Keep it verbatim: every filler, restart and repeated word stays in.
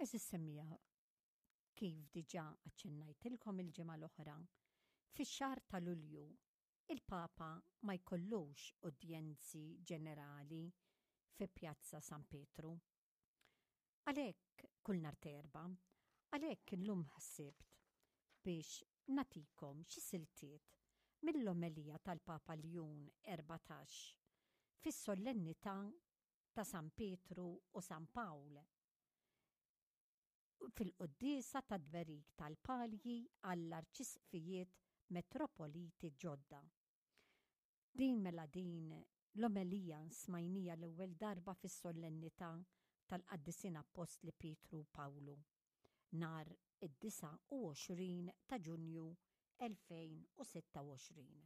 Għeżież semmiegħa, kif diġà aċċennajtilkom il-ġimgħa l-oħra, fix-xahar ta' Lulju il-Papa ma jkollux udjenzi ġenerali fi Pjazza San Pietru. Għalhekk kull nhar t'Erbgħa, għalhekk illum ħsibt biex nagħtikom xi siltiet mill-omelija tal-Papa Ljun Erbatax fis-solennità ta' San Pietru u San Pawl fil-quddiesa tat-tberik tal-palji għall-arċisqfijiet metropoliti ġodda. Din mela din l-omelija smajnieha l-ewwel darba fis-solennità tal-Qaddisin Appostli Pietru u Pawlu nhar id-disgħa u għoxrin ta' Ġunju elfejn u sitta u għoxrin.